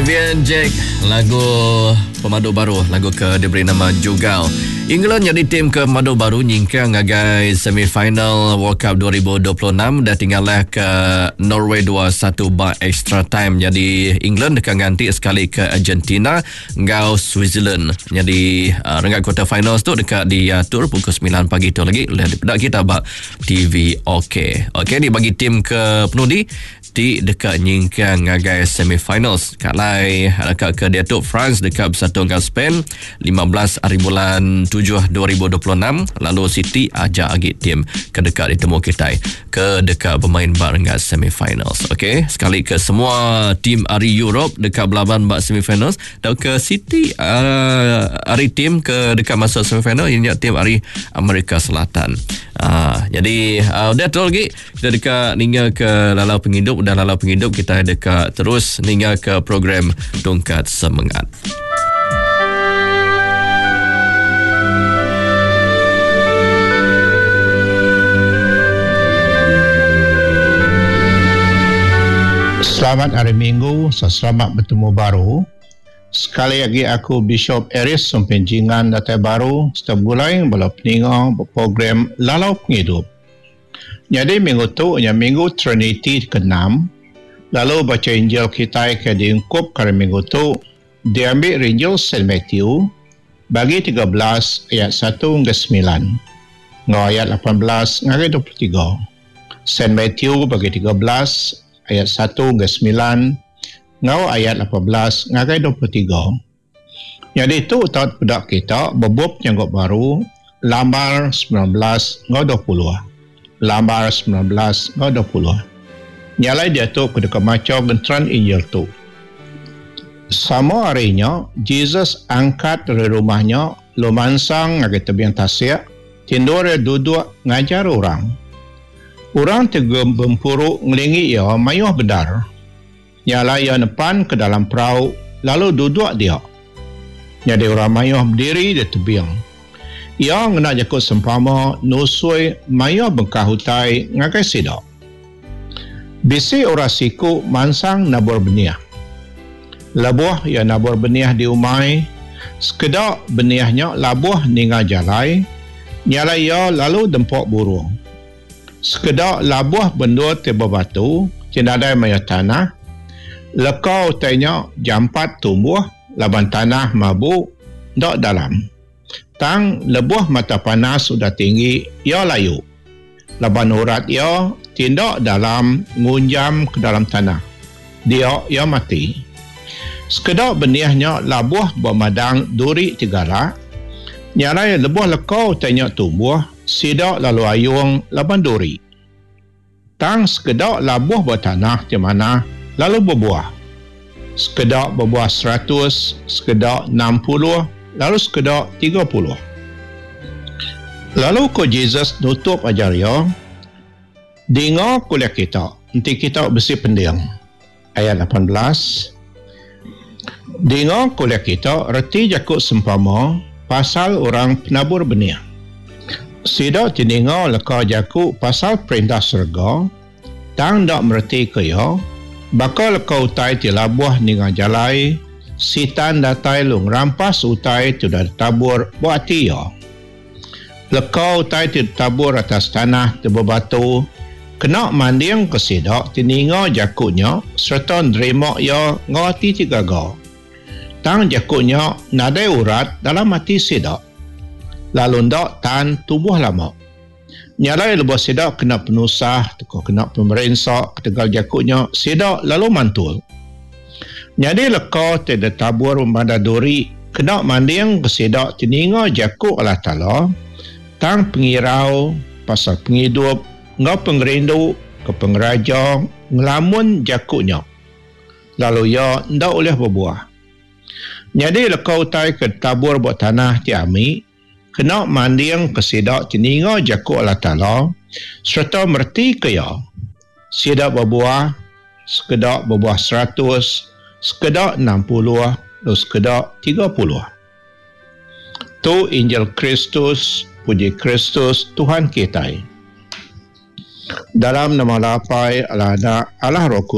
Vivian Jack lagu pemadu baru lagu ke diberi nama Jugal. England nyadi tim ke pemadu baru nyingkang ngagai semifinal World Cup 2026 dah tinggalah ke Norway 2-1 ba extra time. Jadi England deka nganti sekali ke Argentina enggau Switzerland. Nyadi uh, renggat quarter finals tu deka diatur pukul 9 pagi tu lagi ulih dipeda kita ba TV OK. Okey ni bagi tim ke penudi ti deka nyingkang ngagai semifinals. Kalai deka ke diatu France deka bersatu enggau Spain 15 hari bulan 7 2026 lalu City aja agi tim ke deka ditemu kitai ke deka bermain ba renggat semifinals. Okey, sekali ke semua tim ari Europe deka belaban ba semifinals tauka City uh, ari tim ke deka masuk semifinal ianya tim ari Amerika Selatan. Uh, jadi uh, udah tu lagi Kita deka ninga ke lalau pengidup udah lalau pengidup kita deka terus ninga ke program Tungkat Semengat. Selamat hari Minggu, selamat betemu baru. Sekali agi aku Bishop Aries Sumpin Jingan datai baru serta begulai bala peninga ba program Lalau Pengidup. Nyadi minggu tu nya minggu Triniti keenam, lalu bacha Injil kitai ke diungkupka hari minggu tu diambi ari Injil Saint Matthew bagi 13 ayat satu ngagai semilan enggau ayat 18 ngagai 23. Saint Matthew bagi 13 ayat satu ngagai semilan enggau ayat 18 ngagai 23. Nyadi tu tau dipeda kita ba bup Nyanggup Baru lambar 19 enggau 20. Lambar 19 enggau 20. Nya alai diatu aku deka macha genteran Injil tu. Sama hari nya, Jesus angkat ari rumah nya lalu mansang ngagai tebing tasik ti endur iya duduk ngajar orang. Orang ti bempuru ngelingi iya mayuh bendar. Nya alai iya nepan ke dalam perau lalu duduk dia. Nyadi orang mayuh bediri di tebing. Iya ngena jaku sempama nusui mayuh bengkah utai ngagai sida. Bisi orang siku mansang nabur benih. Lebuh iya nabur benih di umai, sekeda benih nya labuh ninga jalai, nya alai iya lalu dempa burung. Sekeda labuh bendur ti bebatu ti nadai mayuh tanah, leka utai nya jampat tumbuh laban tanah mabu enda dalam. Tang lebuh mata panas udah tinggi iya layu laban urat iya ti enda dalam ngunjam ke dalam tanah. Dia iya mati. Sekeda benih nya labuh ba madang duri ti galak, nya alai lebuh leka utai nya tumbuh, Sida lalu ayung laban duri. Tang sekeda labuh ba tanah ti manah lalu bebuah. Sekeda bebuah 100, sekeda 60, lalu sekeda 30. Lalu ku Jesus nutup ajar iya, Dinga ku ulih kita, enti kita bisi pending. Ayat 18. Dinga ku ulih kita reti jaku sempama pasal orang penabur benih. Sida ti ninga leka jaku pasal Perintah Serega tang enda meretika iya, baka leka utai ti labuh ninga jalai, Sitan datai lalu ngerampas utai ti udah ditabur ba ati iya. Leka utai ti ditabur atas tanah ti bebatu kena mandingka sida ti ninga jaku nya sereta nerima iya enggau ati ti gaga. Tang jaku nya nadai urat dalam ati sida, lalu enda tan tubuh lama. Nya alai lebuh sida kena penusah tauka kena pemerinsa ketegal jaku nya, sida lalu mantul. Nyadi leka ti ditabur bemadah duri kena mandingka sida ti ninga jaku Allah Taala, tang pengirau pasal pengidup enggau pengerindu ke pengeraja ngelamun jaku nya, lalu iya enda ulih bebuah. Nyadi leka utai ke ditabur ba tanah ti ami, kena mandingka sida ti ninga jaku Allah Taala sereta meretika iya. Sida bebuah, sekeda bebuah 100, sekeda 60, lalu sekeda 30. Tu Injil Kristus, puji Kristus Tuhan kitai. Dalam nama Allah Apai, Allah Anak, Allah Roh Kudus.